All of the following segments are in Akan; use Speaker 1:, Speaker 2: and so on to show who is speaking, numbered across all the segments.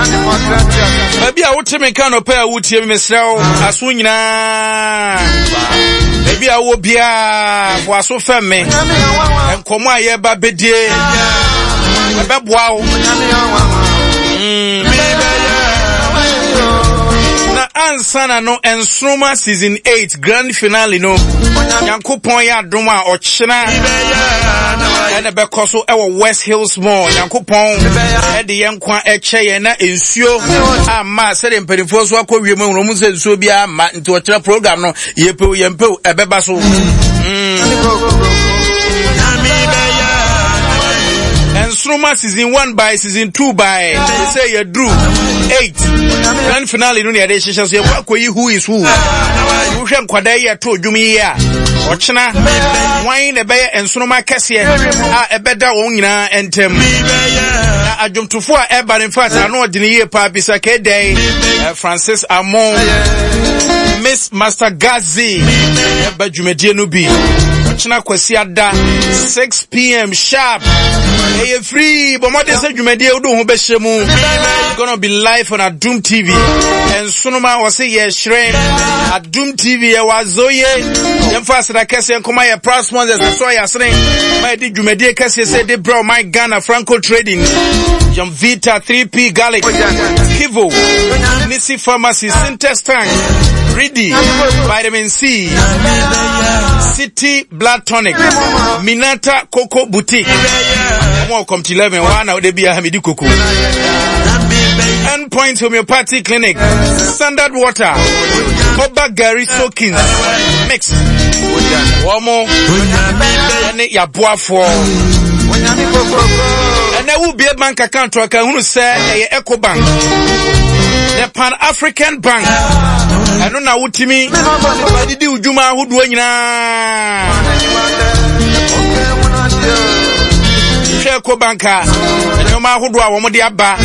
Speaker 1: Baabi a wote me nka nɔpɛ a wotie me mesrɛ wo aso nyinaa. Baabi a wowɔ biara fo aso fɛm me. Nkɔmmɔ a yɛba bɛdie ɛbɛboa wo. Mm. Na ansa na no nsoroma season 8 grand finale no Nyankopɔn yɛ adom a ɔkyena ɛna ɛbɛkɔ so ɛwɔ West Hills Mall. Nyankopɔn ɛde yɛn nkwa ɛkyɛ yɛn na nsuo amma sɛdeɛ mpanimfoɔ so akɔ wiem ahunu wɔn sɛ nsuo biara amma nti ɔkyerɛ program no yɛpɛw yɛmpɛw ɛbɛba so. Mm. Nsoroma season 1 by season 2 by sɛ yɛduru 8 grand finale no ne yɛde hyehyɛ so yɛkɔ akɔyi who is who. Wohwɛ nkwadaa yi ɛto dwom yi a ɔkyena wan na ɛbɛyɛ nsoroma kɛseɛ a ɛbɛda wɔn nyinaa ntam. Na adwomtofo a ɛba no infact ano ɔdene yie paa bisa kɛdɛn eh, Francis Amon Miss Master Gazi ɛba dwumadie no bi ɔkyena kwasi ada 6 pm sharp ɛyɛ free bɔ mmɔden sɛ dwumadie wode ho bɛhyɛ mu gonna be live on Adum TV Nsonoma wɔse yɛhyerɛn Adum TV yɛwɔ azoye yɛmfa aseda kɛseɛ nkɔma yɛ proud sponsors ɛsɔ yɛ asene ma yɛde dwumadie kɛseɛ sɛ de brɛ ɔman Ghana Franco Trading Vita 3P Garlic Kivo Nisi Pharmacy Sintex Tank Ridi Vitamin C City Blood Tonic Minata Coco Boutique wɔn wɔ Comte 11 wɔn a na wɔde bi aha medi koko Point Homeopathy Clinic, Standard Water, Oba Gary Sokins, Mix, wɔn ne yaboafoɔ. Ɛnɛ wobie bank account a ka hunu sɛ ɛyɛ Eco Bank, the Pan African Bank. Ɛno na wotumi adidi wo dwuma ahodoɔ nyinaa. Hwɛ Eco Bank a nneɛma ahodoɔ a wɔde aba.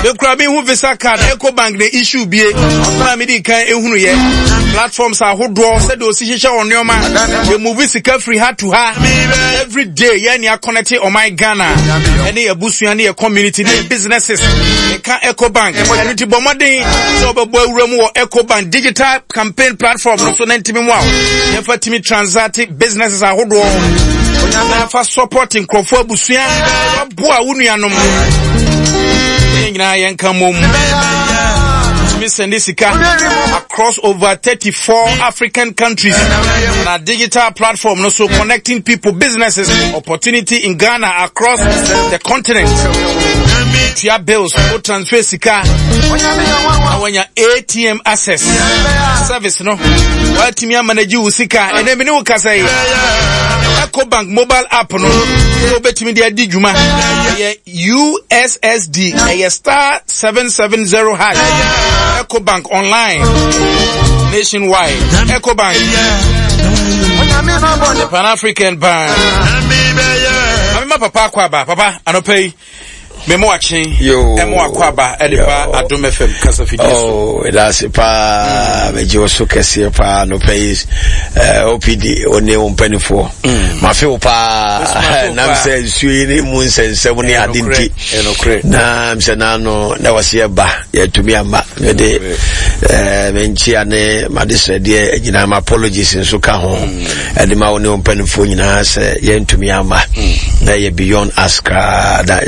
Speaker 1: Mekura me hu visa card Ecobank na issue bie na me di kan ehunu yɛ platforms ahodoɔ sɛdeɛ osi hyehyɛ wɔn nneɛma yɛ move sika firi ha to ha every day yɛn ni akɔnɛte ɔman Ghana ɛne yɛ busua ne yɛ community ne yɛ businesses ɛka Ecobank ɛno ti bɔ mmɔden sɛ ɔbɛbɔ awura mu wɔ Ecobank digital campaign platform no so na ntumi mu a yɛfa tumi transact businesses ahodoɔ na fa support nkurɔfoɔ abusua Boa wo nuanom. Yɛn nyinaa yɛnka mmom. Tumi sɛnde sika across over 34 African countries na digital platform no so connecting people, businesses, opportunity in Ghana across the continent. Tua bills, wo transfer sika, na wanya ATM access service no. Watumi amanage wo sika. Ɛnɛ mene wo kasa yi. Ecobank mobile app no wobɛtumi de adi dwuma ɛyɛ ussd ɛyɛ star 770 hash ecobank online nationwide ecobank the pan african bank mama papa akɔ aba papa anɔpa yi memo akye ɛmo akɔ aba ɛde ba adom fm kasa fidie so
Speaker 2: oh, ɛda ase paa mɛgye wo so kɛseɛ paa nɔpɛ yi eh, opd wo ne wo mpanifoɔ mm. mafe wo paa nam sɛ nsuo yi ne mu nsɛnsɛm ne ade nti na sɛ naano na wɔse yɛba yɛtumi amma mede eh, menkyea ne madesrɛdeɛ nyinaa ma apologies nso ka ho mm. ɛde ma wo ne wo mpanimfoɔ nyinaa sɛ yɛntumi ama mm. na ɛyɛ beyond us koraa na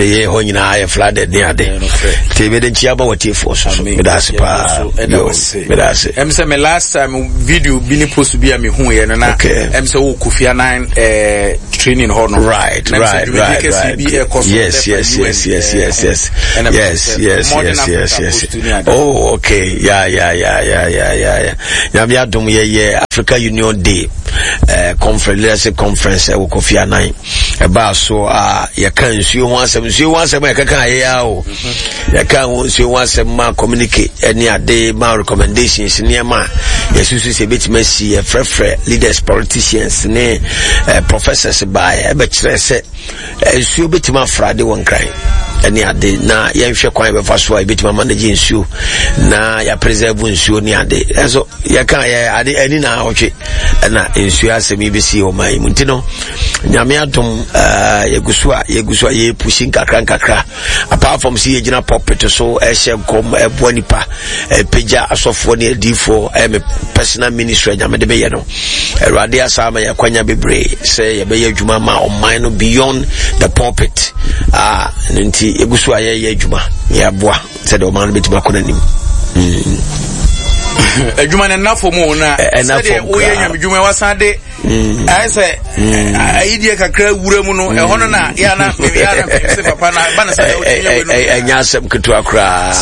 Speaker 2: yɛ hɔ nyinaa yɛ flooded ne ade nti mede nkyia ba watiefoɔ so so meda ase paa meda ase
Speaker 1: ɛm sɛ me last time video bi ne post bi a mehuiɛ no na ɛm sɛ wɔ Kofi Annan eh, training hɔ no
Speaker 2: right right right right yes yes yes yes yes yes yes yes yes yes yes oh okay yeah yeah yeah yeah yeah yeah Nyame adom yɛyɛ Africa Union Day eh, conference leadership conference ɛwɔ eh, Kofi Annan ɛbaa so a yɛka nsuo ho asɛm nsuo ho asɛm a yɛkeka ayɛ ya o mhm. yɛka ho nsuo ho asɛm ma communicate ɛne ade ma recommendations nneɛma a yɛsusu sɛ ɛbɛtumi asi yɛfrɛfrɛ leaders politicians ne eh, professors baeɛ ɛbɛkyerɛ sɛ Nsuo bɛtumi afra ade wɔ nkran ɛne ade na yɛnhwɛ kwan yɛbɛfa so a yɛbɛtumi amanagye nsuo na yɛapreserve nsuo ne ade ɛnso yɛka yɛ ade ani na awɔtwe ɛna nsuo asɛm yi bɛsi wɔ man yi mu nti no nyame adom uh, yɛgu so a yɛgu so a yɛpusi nkakra nkakra. Apart from sɛ yɛgyina pulpit so ɛhyɛ nkɔm ɛboa nipa ɛpagya asɔfoɔ ne adiifoɔ ɛyɛ me personal ministry nyame de meyɛ no. Awurade asa ama yɛakwanya bebree sɛ yɛbɛyɛ adwuma ma ɔman no beyond the pulpit. Ah, no nti yɛgu so a yɛyɛ adwuma yɛaboa sɛdeɛ ɔman no bɛtumi akɔ n'anim.
Speaker 1: Adwuma no nna fam o na sɛdeɛ woyɛ nyamedwuma wasan de mm. ayɛ sɛ mm. ayidie kakra wura mu no mm. ɛhɔ no na yɛana yɛana sɛ papa na ba no sɛ
Speaker 2: ɛnyɛ asɛm ketewa koraa.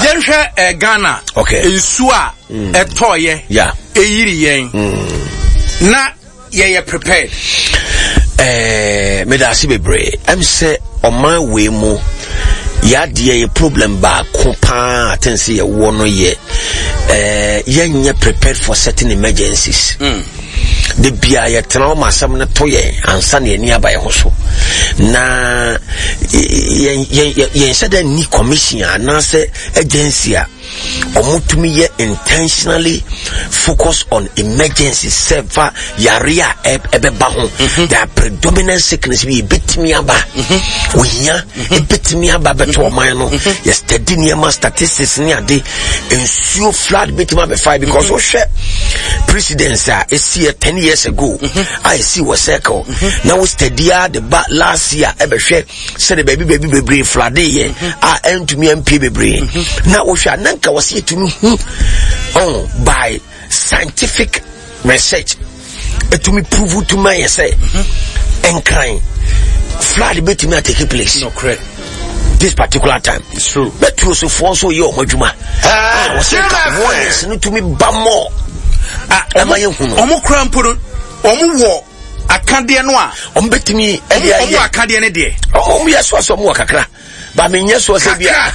Speaker 1: Yɛnhwɛ Ghana nsuo a ɛtɔɔyɛ ɛyiri yɛn na yɛyɛ prepared.
Speaker 2: Eh, meda ase bebree. Ɛm sɛ ɔman wei mu yɛadeɛ yɛ problem baako paa aten sɛ yɛwɔ no yɛ eh, yɛnyɛ prepared for certain emergencies. De bia yɛtena hɔ ma asɛm no to yɛn ansa na yɛni aba yɛn ho so. Na yɛnhyɛ dɛ nni commission anaasɛ agency a wɔtumi yɛ intentionally focus on emergency sɛ fa yare a ɛbɛba ho. Mhm. There are predominant sickness bi ebetumi aba, mhm. ohia mhm. ebetumi aba bɛto ɔman no. Yɛ study nneɛma, statistics ne ade, nsuo flood betumi abɛfa because wohwɛ precedence a esi yɛ 10 years ago a esi wɔ circle na wo study a de ba last year ɛbɛhwɛ sɛde baabi baabi bebree flade yɛ a ɛntumi ampie bebree na wohwɛ a na nka wɔsɛ yɛtumi hu oh, by scientific research ɛtumi prove to ma yɛ sɛ nkran flood bɛtumi atake place this particular time.
Speaker 1: It's true.
Speaker 2: Bɛtuo sofoɔ nso yɛ ɔmo adwuma. Ah, wɔsɛ nka warnings no tumi ba mɔ.
Speaker 1: Ah,
Speaker 2: ɛma yɛ hu no.
Speaker 1: Ɔmo kura mpo no, ɔmo wɔ akadeɛ no a.
Speaker 2: Ɔmo bɛtumi ɛde ayɛ.
Speaker 1: Ɔmo wɔ akadeɛ no deɛ.
Speaker 2: Ɔmo yɛ so asɔ ɔmo wɔ kakra. Ba mi nyɛ so sɛ bia.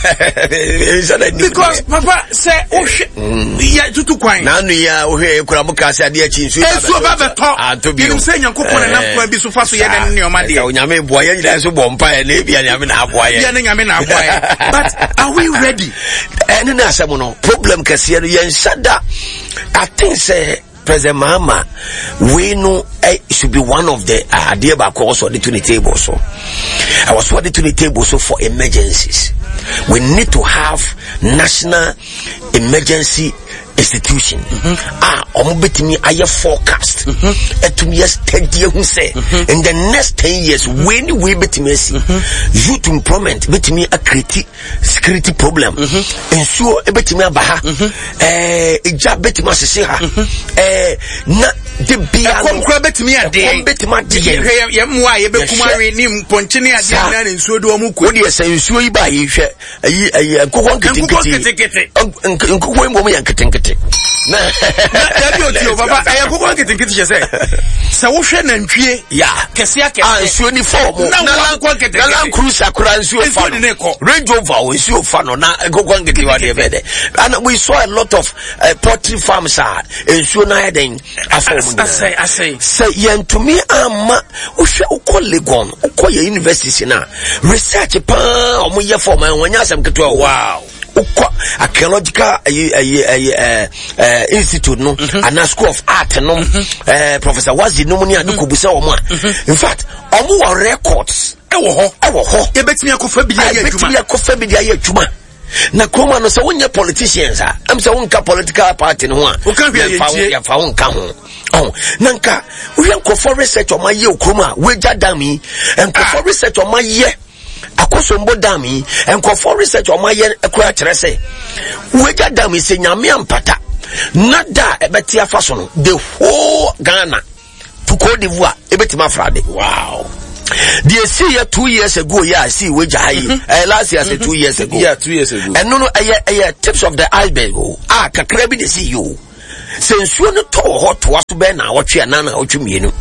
Speaker 1: Because papa sɛ wohwɛ mm. yɛ tutu kwan.
Speaker 2: N'anu yi a wohwɛ yɛ kura mo kaa sɛ adeɛ akyi nsuo
Speaker 1: ba bɛtɔ. Nsuo ba bɛtɔ. Ato bi o. Yɛnim sɛ Nyankopɔn na nam kwan bi so fa so yɛ ne nneɛma deɛ.
Speaker 2: Onyame boa yɛn nyinaa nso bɔ mpa yɛ na ebia Nyame na aboa yɛn.
Speaker 1: Ebia ne Nyame na aboa yɛn. But are we ready?
Speaker 2: Ɛne ne asɛm no, problem kɛseɛ no yɛn nsa da. I think sɛ President Mahama wei no eh, should be one of the adeɛ baako a wɔsɔ de to ne table so. I was ɔde to ne table so for emergencies. We need to have national emergency institution a wɔn bɛtumi ayɛ forecast, ɛtumi yɛ steady ehu sɛ in the next 10 years wei ni wei bɛtumi asi, youth employment bɛtumi acreate security problem, nsuo bɛtumi aba ha, ɛɛ egya bɛtumi asese ha, ɛɛ na de bia
Speaker 1: no ɛkɔm kura bɛtumi adeɛ,
Speaker 2: ɛkɔm bɛtumi adeɛ.
Speaker 1: Yɛ yɛ mmoa a yɛbɛkum awe ne mpɔnkye ne adeɛ nyinaa ne nsuo de wɔn kɔ.
Speaker 2: O deɛ sɛ nsuo yi ba yi, hwɛ ayi ayi nkokɔ nketenkete, nkokɔ yi mbom yɛ nketenkete.
Speaker 1: Na dabi o ti o papa, ɛyɛ nkokɔ nketenkete kyɛ sɛ sɛ wohwɛ nantwie
Speaker 2: ya
Speaker 1: kɛseɛ akɛseɛ
Speaker 2: a nsuo ni fa wɔn
Speaker 1: na wɔn nkokɔ nketenkete
Speaker 2: na Land Cruiser kora nsuo fa no, Range Rover o nsuo fa no, na nkokɔ nketewa deɛ bɛyɛ dɛ. And we saw a lot of poultry farms a nsuo no ayɛ dɛn afa wɔn nyinaa. Sɛ yɛntumi ama wohwɛ, wokɔ Legon, wokɔ yɛ universities na research paa wɔn yɛ fɔ wɔn nyɛ asɛm ketewa o. Wokɔ archaeological ayi ayi ayi ɛɛ ɛɛ institute no anaa School of Art no, Professor Wazi nom ne ade kɔ busa wɔn a, in fact wɔn wɔ records.
Speaker 1: Ɛwɔ hɔ.
Speaker 2: Ɛwɔ hɔ.
Speaker 1: Yɛbɛtumi akɔfa bi de ayɛ adwuma.
Speaker 2: Yɛbɛtumi akɔfa bi de ayɛ adwuma. Na kuroma no sɛ wonyɛ politicians a, ɛm sɛ wonka political party no ho a,
Speaker 1: woka hwɛ yɛntie.
Speaker 2: Yɛmfa wo nka ho. Ɔn na nka wohwɛ nkurɔfoɔ research ɔma yɛ okurom a woagya dam yi, nkurɔfoɔ research ɔma yɛ Akosombo dam yi, nkurɔfoɔ research ɔma yɛ kora kyerɛ sɛ woagya dam yi, sɛ Nyame ampata na da a ɛbɛte afa so no, the whole Ghana to Cote d'Ivoire ebɛtumi afra de. Deɛ esi yɛ 2 years ago yɛ a esi wagya ha yi, ɛyɛ last year sɛ 2 years ago.
Speaker 1: Yeah, 2 years ago.
Speaker 2: Ɛno no ɛyɛ tips of the iceberg o, a kakra bi na esi yi o. Sɛ nsuo no tɔ wɔ hɔ toa so bɛyɛ na awɔtwe anaa na awɔtwe mmienu,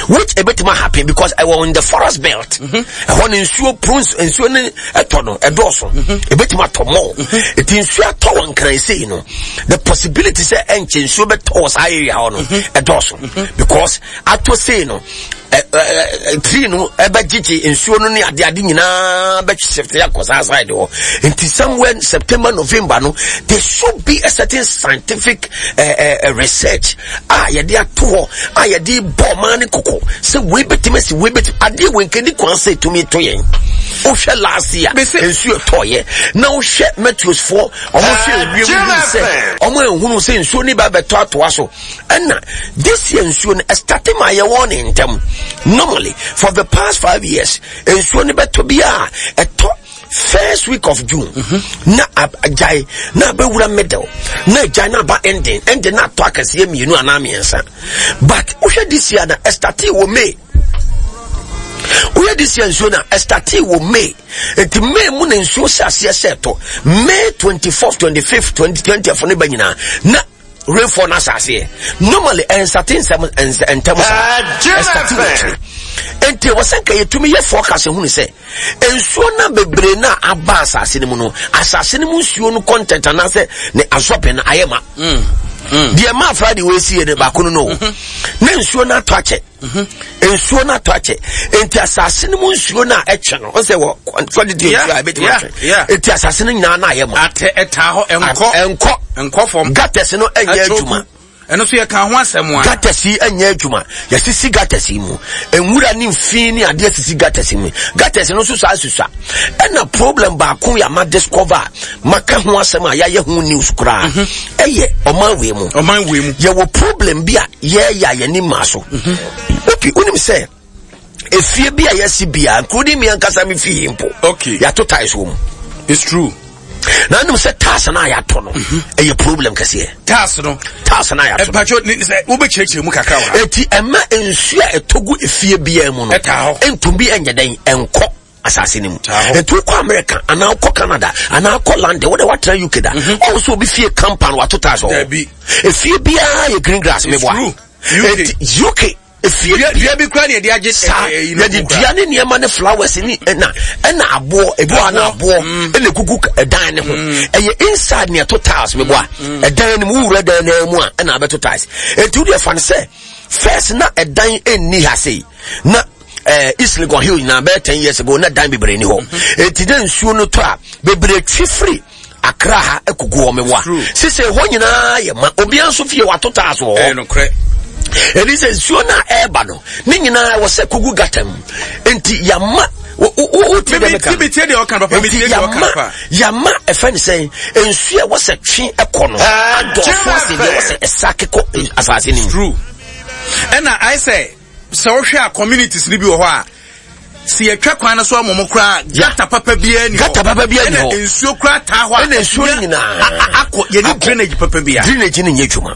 Speaker 2: which ebɛtumi happen because ɛwɔ in the forest belt, ɛhɔ no nsuo prunes nsuo no ɛtɔ no ɛdɔɔso, ebɛtumi atɔ mɔ. Eti nsuo atɔ wɔ Nkran sei no, the possibility sɛ ɛnkyɛ nsuo bɛtɔ wɔ saa area hɔ no ɛdɔɔso because atɔ sei no. Tree no ɛbɛgyegye nsuo no ne ade ade nyinaa bɛshift akɔ saa side hɔ. Nti somewhere September, November no, there should be a certain scientific research a yɛde ato hɔ a yɛde bɔ ɔman ne kɔkɔ sɛ wei bɛtumi asi, wei bɛtumi adeɛ wei nkɛdi kwan sɛ ɛtumi to yɛn. Wohwɛ last year nsuo tɔɔyɛ na wohwɛ meteors foɔ ɔmo hwɛ ewiem hu sɛ ɔmo ehunu sɛ nsuo ne ba bɛtɔ atoa so. Ɛna this year nsuo no ɛstate ma yɛwɔ ne ntɛm. Normally for the past 5 years nsuo no bɛtɔ bi a ɛtɔ first week of June na agyae na abɛwura middle na agyae na aba ending ending na atɔ akɛseɛ mmienu anaa mmiɛnsa. But wohwɛ this year na ɛstate wɔ May. Woyɛ this year nsuo na ɛstate wɔ May, nti May mu na nsuo hyɛ aseɛ sɛ ɛtɔ May 24th, 25th, 20 20th ne ba nyinaa na rainfall no ahyɛ aseɛ. Normally ɛnsate nsɛm ntɛm saa, ɛsate wɔ akyire. Nti wɔ sɛ nka yɛtumi yɛ forecast hunu sɛ nsuo no bebree no a aba asase no mu no, asase no mu nsuo no content anaasɛ ne absorbing no ayɛ ma deɛ maa Friday wɔ esie no baako no no na nsuo no atɔ akyɛ. Nsuo no atɔ akyɛ, nti asase no mu nsuo no a ɛkyɛ no ɔsɛ wɔ quantity nsuo a ɛbɛtumi atwe, nti asase no nyinaa no ayɛ ma.
Speaker 1: Atɛ ɛtaa hɔ, ɛnkɔ.
Speaker 2: Ɛnkɔ.
Speaker 1: Ɛnkɔ fam.
Speaker 2: Gutters no ɛnyɛ adwuma.
Speaker 1: Ɛno nso yɛka ho asɛm
Speaker 2: a. Gutters yi ɛnyɛ adwuma. Yɛsisi gutters yi mu nwura ne nfi ne adeɛ sisi gutters yi mu. Gutters no nso saa susua. Ɛna problem baako yɛ ama discover a maka ho asɛm a yɛayɛ ho news koraa ɛyɛ ɔman wei mu.
Speaker 1: Ɔman wei mu.
Speaker 2: Yɛwɔ problem bi a yɛyɛ a yɛni maa so. Opi wonim sɛ efie bi a yɛasi bia, including me ankasa me fie mpo, yɛato tiles wɔ mu.
Speaker 1: It's true.
Speaker 2: Na wonim sɛ tiles no a yɛato no ɛyɛ problem kɛseɛ.
Speaker 1: Tiles no.
Speaker 2: Tiles no a yɛato no.
Speaker 1: Ɛpatwo ne sɛ wobɛkyerɛkyerɛ mu kakra wɔ ha.
Speaker 2: Eti ɛma nsuo a ɛtɔ gu efie biara mu no
Speaker 1: ɛtaa hɔ.
Speaker 2: Ntumi ɛnyɛ dɛn ɛnkɔ asase no mu. Nti wokɔ America anaa wokɔ Canada anaa wokɔ London, wode woatena UK da, ɔwo sɛ obi fie compound wato tiles wɔ hɔ. Efie biara yɛ green grass. Meboa?
Speaker 1: Eti
Speaker 2: UK efie
Speaker 1: dua bi kura ne yɛde agye
Speaker 2: saa yɛde dua ne nneɛma ne flowers ne ɛna aboɔ ebi wɔ na aboɔ ɛna egugu ɛdan ne ho. Ɛyɛ inside ne ɛto tiles. Meboa? Ɛdan ne mu, wura dan ne mu a ɛna abɛto tiles. Eti wode ɛfa no sɛ first na ɛdan ɛnni ha sei na East Legon Hill nyinaa bɛyɛ 10 years ago na dan bebree ni hɔ. Eti dɛ nsuo no tɔ a bebree twi firi Accra ha ekogu hɔ. Meboa? Sise hɔ nyinaa yɛ ma obiara nso fie wato tiles wɔ hɔ. Ɛni sɛ nsuo no a ɛreba no ne nyinaa wɔ sɛ kogu gutter mu, nti yama wotie dɛ meka nti yama yama ɛfɛ ne sɛn nsuo a ɛwɔ sɛ twe ɛkɔ no adɔɔso ase deɛ ɛwɔ sɛ ɛsa kekɔ asase no mu.
Speaker 1: True. Ɛna ayɛ sɛ wohwɛ a communities no bi wɔ hɔ a sɛ yɛtwa kwan no so ama mo koraa, gutter papa biara ni hɔ.
Speaker 2: Gutter papa biara ni hɔ.
Speaker 1: Ɛna nsuo koraa taa hɔ a
Speaker 2: ɛna nsuo no nyinaa
Speaker 1: akɔ. Yɛne drainage papa biara.
Speaker 2: Drainage no nyɛ adwuma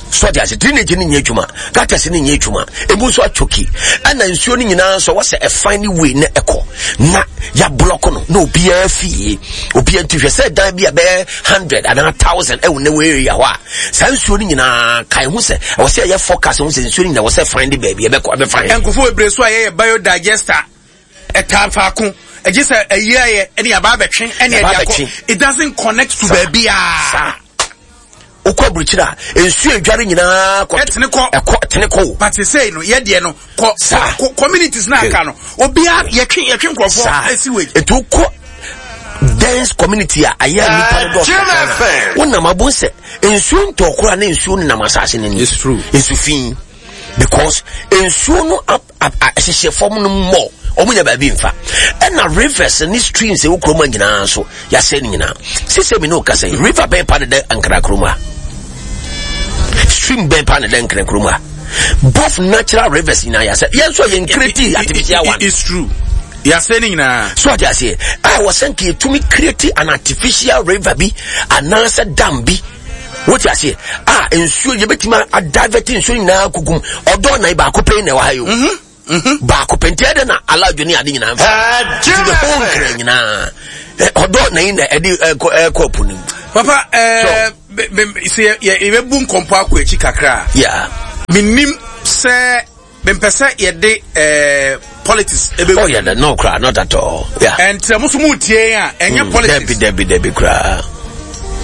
Speaker 2: sɔde ase, drainage no nyɛ adwuma, gutters no nyɛ adwuma, emu nso atwoki. Ɛna nsuo no nyinaa nso wɔsɛ ɛfan ne wei na ɛkɔ na yɛablɔk no na obiara fie obiara. Nti hwɛ sɛ dan bi a bɛyɛ 100 anaa 1,000 ɛwɔ ne wɔ area hɔ a, saa nsuo no nyinaa kae ho sɛ ɛwɔ sɛ ɛyɛ forecast ho sɛ nsuo no nyinaa wɔ sɛ fan de baabi ɛbɛkɔ ɛbɛfan.
Speaker 1: Nkurɔfoɔ bebree so a yɛyɛ biodigester ɛtaa faako ɛgye sɛ ɛyi ayɛ ɛne yaba abɛtwe ɛne ɛde akɔ. It doesn't connect to baabi a.
Speaker 2: Saa wokɔ aburukyire a nsuo edware nyinaa kɔ.
Speaker 1: Ɛtene kɔ.
Speaker 2: Ɛkɔ tene kɔ o.
Speaker 1: But sesei no yɛ deɛ no kɔ
Speaker 2: Saa.
Speaker 1: Kɔ communities na aka no obiara yɛtwe nkurɔfoɔ sewage.
Speaker 2: Etu wokɔ dense community a ayɛ a nipa no dɔɔso kakra na wonam abo sɛ nsuo ntɔ koraa na nsuo nenam asase no ni.
Speaker 1: It's true.
Speaker 2: Nsu fi because nsuo no hyehyɛ fam no mmɔ ɔmo nya baabi nfa. Ɛna rivers ne streams ɛwɔ kurom a nyinaa nso yɛasɛ no nyinaa. Sisɛ mi ne o kasa yi, river bɛn pa ne dɛ Ankara kurom a, stream bɛn pa ne dɛ Nkran kurom a? Both natural rivers nyinaa yɛasɛ. Yɛn nso yɛn create artificial one.
Speaker 1: It's true, yɛasɛ ne nyinaa.
Speaker 2: So ate aseɛ a wɔ sɛ nka yɛtumi create an artificial river bi anaasɛ dam bi, wote aseɛ, a nsuo yɛbɛtumi adivert nsuo nyinaa kugum. Ɔdɔ nan baako pɛn na ɛwɔ ha yi o. Baako pɛ nti ɛdɛ na alaadwo ne ade nyinaa mfa nti the whole Nkran nyinaa ɔdɔ nan na ɛde ɛkɔ ɛpo no mu.
Speaker 1: Papa, sɛ yɛbɛbu nkɔmpɔ akɔ akyi kakra a, menim sɛ mempɛ sɛ yɛde politics
Speaker 2: ebe. Oh yeah, no kra, not at all. Yeah.
Speaker 1: And sɛ mo so mo tie a ɛnyɛ politics.
Speaker 2: Debi debi debi kra.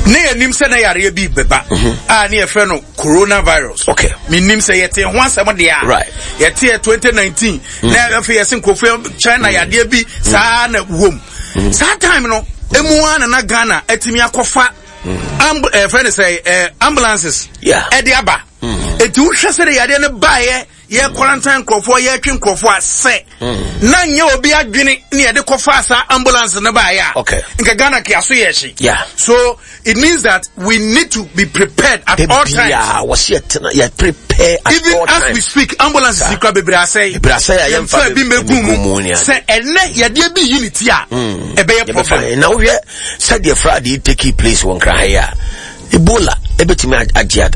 Speaker 1: Ne yɛnim sɛ na yareɛ bi bɛba mhm. a ne yɛfrɛ no coronavirus.
Speaker 2: Okay.
Speaker 1: Menim sɛ yɛte ho asɛm deɛ a.
Speaker 2: Right.
Speaker 1: Yɛte yɛ 2019 mm. na afei yɛse nkurɔfoɔ China mm. yadeɛ bi mm. saa na wom. Saa time no emu ara na na Ghana atumi akɔfa amb ɛfrɛ eh, no sɛ eh, ambulances ɛde aba. Eti wohwɛ sɛ de yadeɛ no baeɛ yɛ quarantine nkurɔfoɔ yɛtwe nkurɔfoɔ a sɛ hmm. na nyɛ obi adwene ne yɛde kɔfa saa ambulance no baeɛ a
Speaker 2: okay.
Speaker 1: nka Ghana kea so yɛ hye
Speaker 2: yeah.
Speaker 1: So it means that we need to be prepared at all times.
Speaker 2: Yɛ prepare at
Speaker 1: even
Speaker 2: all
Speaker 1: as
Speaker 2: times.
Speaker 1: we speak ambulance si kura bebree asɛe
Speaker 2: bebree asɛe a yɛmfa
Speaker 1: bi mbɛgu mu sɛ ɛnɛ yɛdeɛ bi yi ne ti a hmm. ɛbɛyɛ problem.
Speaker 2: Na wohwɛ sɛdeɛ Friday take place wɔ Nkran ha yi a Ebola ebetumi agye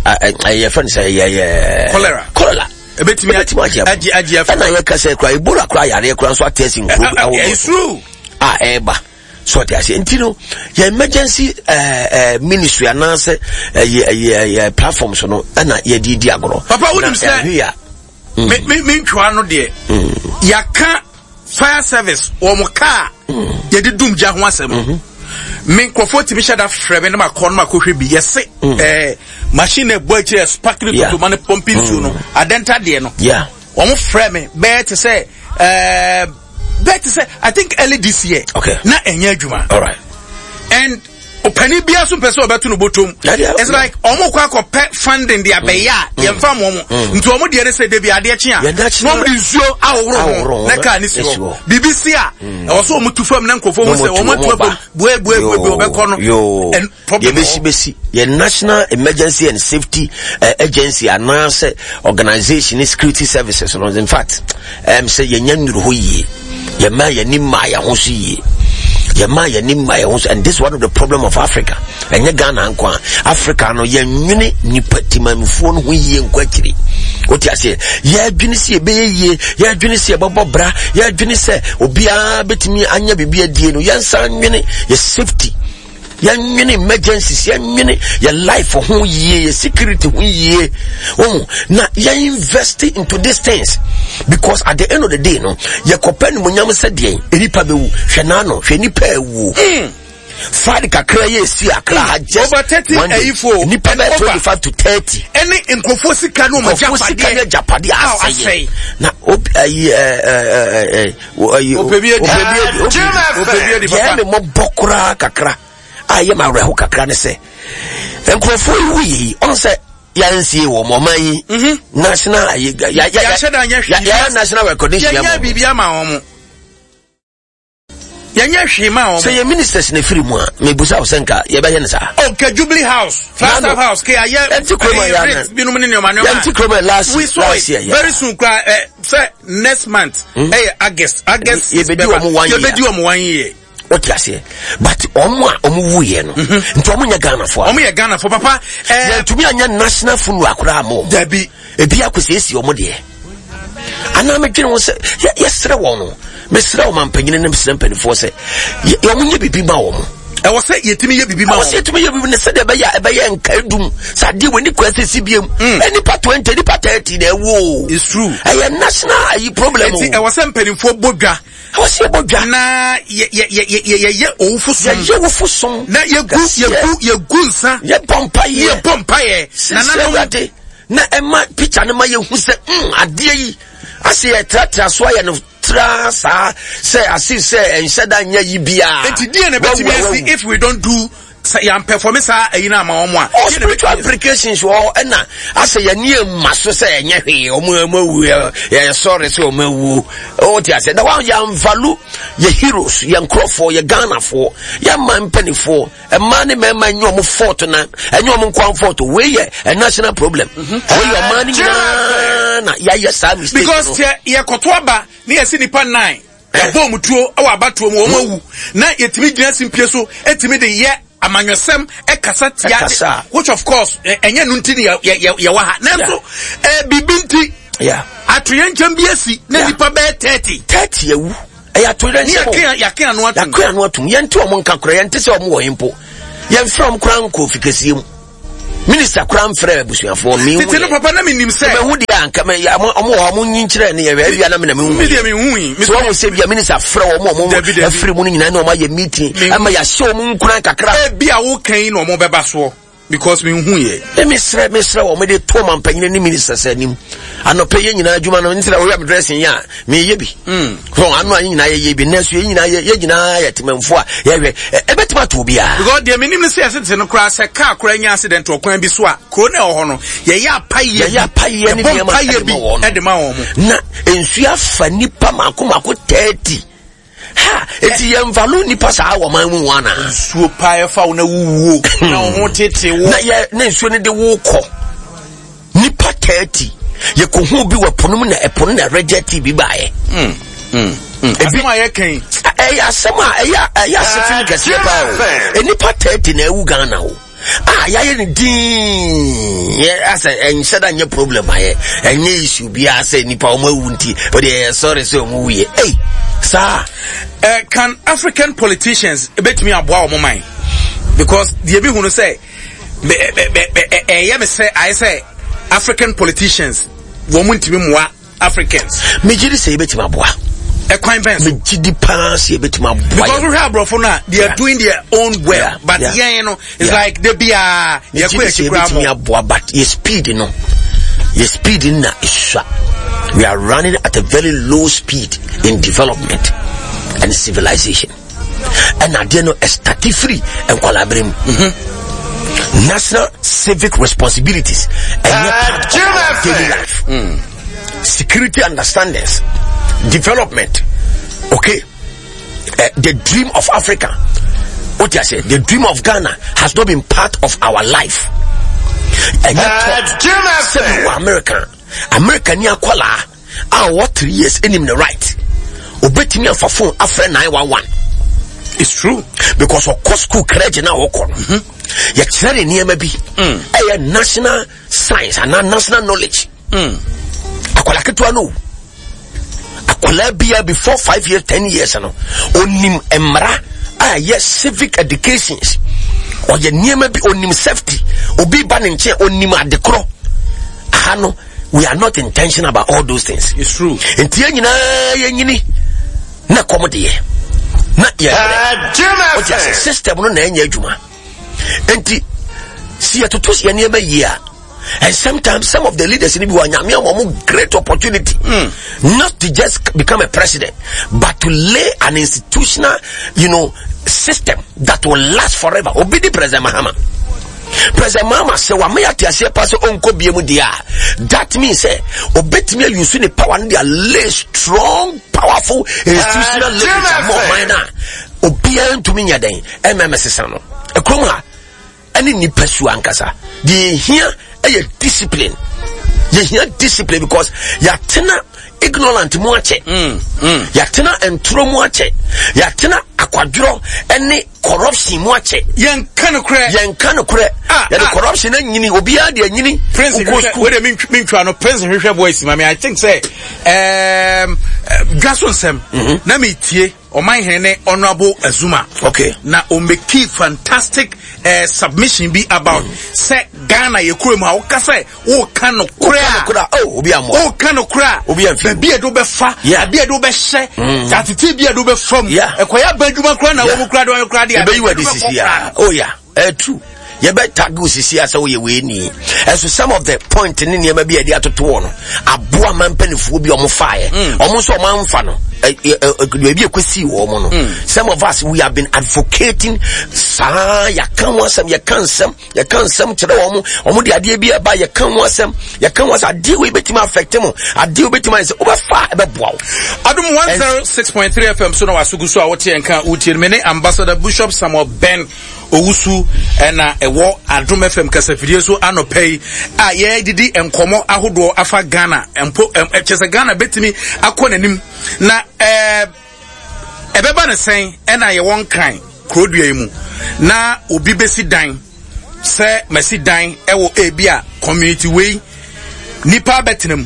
Speaker 2: ɛyɛ fɛn sɛ ɛyɛ ɛyɛ.
Speaker 1: Cholera.
Speaker 2: Cholera.
Speaker 1: Ebetumi agye agye agye
Speaker 2: afɛ. Ɛna yɛ kasa kura Ebola kura yareɛ kura nso ate asi nkuro
Speaker 1: ahodoɔ. Ɛsuru.
Speaker 2: A ɛɛba so ɔte aseɛ nti no yɛ emergency ɛɛ ɛɛ ministry anaasɛ ɛyɛ ɛyɛ ɛyɛ platform so no ɛna yɛde di agorɔ.
Speaker 1: Papa wunim sɛ me me me ntwa no deɛ yaka fire service wɔn kaa yɛde dum gya ho asɛm mm-hmm. me nkurɔfoɔ tumi hyɛ da frɛ me na makɔ na makɔhwɛ bi yɛse mm. eh, machine na ɛbɔ akyire yɛ sparkling totoma ne pɔmpi nsuo no mm. adɛnta deɛ no wɔn frɛ me bɛyɛ te sɛ eh, bɛyɛ te sɛ I think early this year
Speaker 2: okay.
Speaker 1: na ɛnyɛ adwuma
Speaker 2: All right.
Speaker 1: And ɔpanin biara so mpɛ sɛ ɔbɛto no bɔtɔm it's like ɔmo kɔ akɔpɛ funding de abɛyɛ a mm. yɛmfa mo ɔmo mm. nti ɔmo deɛ ne sɛ debi adeɛ kye a na ɔmo de nsuo ahohoro ho na kaa ne si hɔ biribi si a mm. ɛwɔ sɛ ɔmo tu fam na nkurɔfoɔ ho sɛ ɔmo atu abom bue bue bue bue ɔbɛkɔ
Speaker 2: no
Speaker 1: and problem
Speaker 2: wɔ yɛbɛsi bɛsi yɛ national emergency and safety uh, agency anaasɛ organization ne security services no in fact um, sɛ yɛnya nnuru hɔ yie yɛma yɛni mmaa yɛn ho so yie yɛma yɛni mmaa yɛn ho so and this is one of the problem of africa ɛnyɛ ghana nko a africa no yɛnwene nipa timanmufoɔ no ho yie nkɔ akyiri wote aseɛ yɛadwene sɛ yɛbɛyɛ yie yɛadwene sɛ yɛbɛbɔ bra yɛadwene sɛ obiara bɛtumi anya biribi adie no yɛnsan nwene yɛ safety yɛnwene emergencies yɛnwene yɛ life ho yie yɛ security ho yie wɔn na yɛn invest into these things because at the end of the day no yɛkɔpɛ nimonyam sɛ deɛ nipa bɛwu hwɛ n'ano hwɛ nipa awuo. Mm. Friday kakra yɛ esi akra ha just
Speaker 1: over 30
Speaker 2: one day nipa bɛ 25 to 30.
Speaker 1: Ɛne nkurɔfoɔ sika ne wɔn agyapadeɛ
Speaker 2: nkurɔfoɔ sika ne agyapadeɛ asɛyɛ na obi ayi ɛɛ ɛɛ ɛɛ
Speaker 1: Ɔpɛ bi adi. Ɔpɛ bi adi papa.
Speaker 2: Deɛ me mmɔbɔ koraa kakra a ɛyɛ ma awerɛho kakra ne sɛ nkurɔfoɔ yi wuiɛ yi ɔn sɛ yɛnsie wɔ ɔman yi mhm. national yɛayɛ national recognition
Speaker 1: yɛnyɛ biribi ama wɔn yɛnyɛ hwee ma wɔn.
Speaker 2: Sɛ yɛ ministers na efiri mu a mebusa wo sɛ nka yɛbɛyɛ no saa.
Speaker 1: Oh, nka Jubilee House, Flagstaff House, ke ayɛ
Speaker 2: yɛnti kurom a yɛn
Speaker 1: binom ne nneɛma nneɛma.
Speaker 2: Yɛnti kurom a last
Speaker 1: we saw
Speaker 2: last year.
Speaker 1: Very soon kura ɛ eh, sɛ next month ɛyɛ hmm? eh, August August
Speaker 2: yɛbɛdi wɔn one year
Speaker 1: yɛbɛdi wɔn one year.
Speaker 2: Wote aseɛ but wɔn a wɔn wu yɛ no mhm. nti wɔn nyɛ Ghanafoɔ.
Speaker 1: Wɔn yɛ Ghanafoɔ papa.
Speaker 2: Eh, yɛntumi anyɛ national funeral koraa ma wɔn.
Speaker 1: Dabi.
Speaker 2: Ebi akɔsiesie wɔn deɛ. Anaa medwene ho sɛ yɛsrɛ wɔn no mesrɛ wɔn mampanyini ne mesrɛ mpanimfoɔ sɛ wɔn nyɛ biribi ma wɔn.
Speaker 1: Ɛwɔ sɛ yɛtumi yɛ biribi ma wɔn.
Speaker 2: Ɛwɔ sɛ yɛtumi yɛ biribi na sɛdeɛ ɛbɛyɛ a ɛbɛyɛ nkaedum sɛ adeɛ wɔ ni kwan sɛ si biem. Mm. Nipa 20 nipa 30 na ɛwɔ o.
Speaker 1: It's true.
Speaker 2: Ɛyɛ national ayi problem o.
Speaker 1: Eti ɛwɔ sɛ mpanimfoɔ bɔ dwa.
Speaker 2: Ɛwɔ sɛ yɛbɔ dwa.
Speaker 1: Na yɛ yɛ yɛ yɛ yɛyɛ owufo som.
Speaker 2: Yɛyɛ owufo som.
Speaker 1: Na yɛgu yɛgu yɛgu nsa.
Speaker 2: Yɛbɔ mpaeɛ.
Speaker 1: Yɛbɔ mpaeɛ.
Speaker 2: Nananom. Na ɛma picture no ma yɛhu sɛ mm adeɛ yi asɛ yɛtratra so ayɛ no tra saa sɛ ase sɛ ɛnhyɛ da nyɛ yi biara.
Speaker 1: Eti deɛ na ɛbɛtumi asi if we don't do sɛ yɛn perform saa ɛyi na ama wɔn a.
Speaker 2: Oh, spiritual implications wɔ hɔ ɛna asɛ yɛn ni ema so sɛ ɛnyɛ hwee wɔn wɔn awu yɛ sɔre sɛ wɔn awu ɔwɔ ti ase na wɔn yɛn value yɛ heroes yɛn nkorɔfoɔ yɛ Ghanafoɔ yɛn mma mpanimfoɔ mmaa ne mmarima nyɛ wɔn fault na ɛnyɛ wɔn nkoa fault wei yɛ a national problem mhm. wei yɛ ɔman no nyinaa na yɛayɛ saa mistake
Speaker 1: no. Because sɛ yɛkɔto aba ne yɛsi nipa nine yɛbɔ wɔn tuo wɔ abatoɔ mu wɔn hmm. awu na yɛtumi gyina simpie so ɛtumi de yɛ amanyɔsɛm ɛkasa tia which of course ɛnyɛ no nti ne yɛwɔ ha nanso biribi nti atoyɛnkyɛm bi asi na nipa bɛyɛ 30
Speaker 2: 30 awu ɛyɛ atoyerɛnkyɛm
Speaker 1: o yɛake ano atom
Speaker 2: yɛake ano atom yɛnte wɔn nka koraa yɛnte sɛ wɔn wɔ he mpo yɛmfrɛ wɔn koraa nkɔ fikɛsie mu. Minister koraa mfrɛ abusuafoɔ mi
Speaker 1: Tete no papa na menim sɛ.
Speaker 2: Ɛbɛhu deɛ anka mɛ ya ɔmo ɔmo wɔ ɔmo nyi nkyerɛ ne yɛ ebia na me na me hu.
Speaker 1: Mi deɛ me hu yi.
Speaker 2: So wɔn sɛ bia minister frɛ wɔn ɔmo afiri mu no nyinaa na ɔmo ayɛ meeting ɛma yɛahyɛ ɔmo nkuran kakra.
Speaker 1: Ebi a wokan yi na ɔmo bɛba soɔ because me hu yɛ.
Speaker 2: Ɛmi srɛ mi srɛ wɔn de to ɔmo mpanyin ne ministers anim anɔpɛ yɛ nyinaa adwuma no ntina wɔyɛ mi dressing yɛ a meyɛ bi mm. so ano a yɛ nyinaa yɛyɛ bi nanso yɛ nyinaa yɛ nyinaa yɛ temanfo a yɛhwɛ ɛbɛtumi ato obiara.
Speaker 1: Because deɛ menim no sɛ yɛsete no koraa sɛ kaa koraa nya accident wɔ kwan bi so a kuro no ɛwɔ hɔ no yɛyɛ apayɛ
Speaker 2: yɛyɛ apayɛ ne nneɛma
Speaker 1: ɛde ma ɛde ma wɔn
Speaker 2: mo. Na nsuo afa nipa mako mako 30 ha eti yɛn nvalu nipa saa wɔ man mu wɔn ana.
Speaker 1: Nsuo paa ɛfa wo na wuwuo na wo ho tete wo.
Speaker 2: Na yɛ na nsuo no de wo kɔ. Nipa 30 yɛkɔhu bi wɔ ɛpo no mu na ɛpo no na reject bi baeɛ.
Speaker 1: Mm, mm, mm. Ebi asɛm a yɛka yi.
Speaker 2: Ɛyɛ asɛm a ɛyɛ ɛyɛ asefim kɛseɛ paa o. Nipa 30 na ɛwu Ghana o. A yɛayɛ no din yɛ asɛ ɛnhyɛ da nyɛ problem ayɛ ɛnyɛ issue biara sɛ nipa wɔn awu nti o deɛ yɛ sɔre sɛ wɔn wu yɛ ei saa.
Speaker 1: Uh, can African politicians betumi aboa wɔn man because deɛ bi hu no sɛ ɛyɛ me sɛ ayɛ sɛ African politicians wɔn mu ntumi mmoa Africans.
Speaker 2: Megye di sɛ yɛbɛtumi aboa.
Speaker 1: Ɛkwan bɛn so?
Speaker 2: Megye di paa sɛ yɛbɛtumi aboa.
Speaker 1: Because wohwɛ aborɔfo no a they are doing their own well yeah. but yɛn yeah. no it's yeah. like de biara yɛkɔ akyi koraa
Speaker 2: mɔ. Megye di sɛ yɛbɛtumi aboa but yɛ speed no yɛ speed no na esua. We are running at a very low speed in development and civilization. Ɛna adeɛ no ɛstati firi nkwadaa mu. Mm-hmm. National civic responsibilities ɛnyɛ part of our daily life. Mm. Security understandings, development, okay. Uh, the dream of Africa, what I say, the dream of Ghana has not been part of our life. And yet, uh, America, America ni akwala a ɔwɔ three years anim ne right obetumi afa phone afrɛ 911
Speaker 1: it's true
Speaker 2: because ɔkɔ school crèche na ɔkɔ no mhm. yɛkyerɛ ne nneɛma bi mm. ɛyɛ national science anaa national knowledge mm. akwala ketewa no akwala bia before 5 years 10 years no onim mmara a ɛyɛ civic educations ɔyɛ nneɛma bi onim safety obi ba ne nkyɛn onim adekorɔ aha no we are not intentional about all those things.
Speaker 1: It's true.
Speaker 2: Nti yɛn nyinaa yɛn nyini na kɔm deɛ na yɛ brɛ. O ti ase system no na ɛnyɛ adwuma. Nti si yɛtoto si yɛn nneɛma yie a and sometimes some of the leaders ni bi wɔ anyame ama wɔn great opportunity mm. not to just become a president but to lay an institutional you know system that will last forever. Obi di President Mahama. President Mahama sɛ wama yɛate aseɛ pa sɛ ɔnkɔ bie mu deɛ a that means sɛ ɔbɛtumi ayusu ne power no de lay strong powerful institutional leverage ama ɔman no a obiara ntumi nyɛ dɛn ɛmɛmɛ sesa no ɛkurom ha ɛne nipa su ankasa deɛ yɛhia ɛyɛ discipline yɛhia discipline because yɛatena ignorant mu akyɛ mm, mm. yɛatena ntoro mu akyɛ yɛatena akwadworɔ ɛne corruption mu akyɛ.
Speaker 1: Yɛnka nokorɛ.
Speaker 2: Yɛnka nokorɛ. Ah, Yɛde ah. corruption anyini obiara de anyini.
Speaker 1: Prince hwehwɛ wei de mentwa no Prince hwehwɛ voice ma me I think sɛ um, dwa so nsɛm mm-hmm. na metie ɔman hene ne honorable Azuma.
Speaker 2: Okay.
Speaker 1: Na ɔmɛki fantastic uh, submission bi about mm. sɛ Ghana yɛ kurom a woka sɛ woka nokorɛ
Speaker 2: a oh, obi amoa
Speaker 1: woka nokorɛ a
Speaker 2: obi amfi
Speaker 1: baabi a ɛde wobɛfa baabi a ɛde wobɛhyɛ mm. atete bi a ɛde wobɛfa mu ɛkɔyɛ aba adwuma koraa na wɔn koraa de wɔn koraa de
Speaker 2: ɛbɛyi wɔ de sisi a oh yeah ɛyɛ true yɛbɛ tag wo sisi a sɛ woyɛ wei ni ɛso some of the point ne nneɛma bi a yɛde atoto wɔ no aboa ma mpanimfoɔ bi a wɔn faeɛ mm. wɔn nso wɔn amfa no baabi a ɛkɔsii wɔn no mm. some of us we have been advocating saa yɛaka ho asɛm yɛka nsɛm yɛka nsɛm kyerɛ wɔn wɔn de adeɛ bi ɛba yɛka ho asɛm yɛka ho asɛm adeɛ wei bɛtumi affect mo adeɛ wei bɛtumi ayɛ sɛ wobɛfa ɛbɛboa wo.
Speaker 1: Adum 106.3 FM so na wasogu so a wote nka wotie no me ne Ambassador Bishop Samuel Ben Owusu ɛna ɛwɔ Adum FM kasafidie so anɔpa yi a yɛdidi nkɔmɔ ahodoɔ afa Ghana mpo kyɛ sɛ Ghana bɛtumi akɔ n'anim na ɛɛ Ɛbɛba no sɛn na yɛwɔ Nkran kurodua yi mu na obi bɛsi dan sɛ masi dan wɔ ebi a community wei nipa abɛtena mu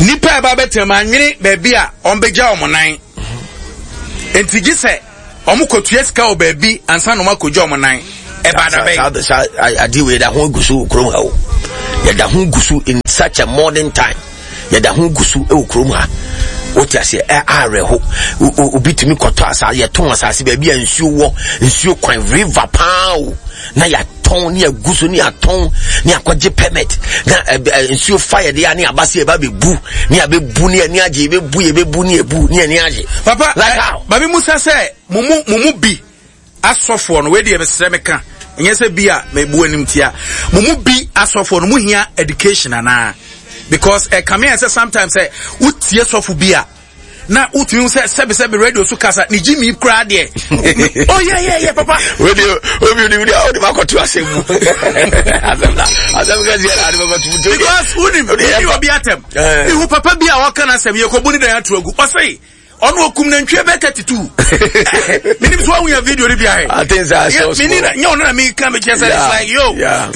Speaker 1: nipa ɛba abɛtena mu anwene baabi a wɔn bɛgya wɔn nan nti gye sɛ wɔn kɔtua sika wɔ baabi ansa na wɔn akɔgya wɔn nan. Ɛba da bɛn?
Speaker 2: Saa adeɛ wei yɛda ho gu so wɔ kurom ha o. Yɛda ho gu so in such a modern time. Yɛda ho gu so wɔ kurom ha. Wote aseɛ ɛ awerɛho. Obi tumi kɔtɔ asase yɛtɔn asase baabi a nsuo wɔ nsuo kwan river paa o na yɛatɔn ne yɛagu so ne yɛatɔn ne yɛakɔgye permit na nsuo fa yɛde a ne yɛaba sɛ yɛba bɛbu ne yɛabɛbu ne yɛni agye yɛbɛbu yɛbɛbu ne yɛbu ne yɛni agye.
Speaker 1: Papa, like how? Maame Musa sɛ mo mu mo mu bi asɔfoɔ no wei deɛ mesrɛ meka ɛnyɛ sɛ bi a mebu anim tia mo mu bi asɔfoɔ no mo hia education anaa because ɛkame eh, sɛ sometimes sɛ wotie sɔfo bi a na wotumi sɛ sɛbisɛbi radio so kasa ne gyi mi koraa deɛ oh yeah yeah yeah papa.
Speaker 2: radio obi obi obi ɔde ma kɔto asɛm mu asɛm na asɛm kɛseɛ na ɔde ma kɔto mu.
Speaker 1: because wonim wonim obi atɛm ihu papa bi a ɔka n'asɛm yɛ kɔ bu ne dan ato agu ɔsɛ ɔno okum nantwie bɛ 32 menim so wahu yɛ video no bi ahɛ
Speaker 2: I think so, I saw
Speaker 1: meni na nyɛ ɔno na meka mekyerɛ sɛ it's like yo
Speaker 2: yeah.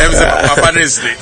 Speaker 1: ɛm sɛ papa ne sere.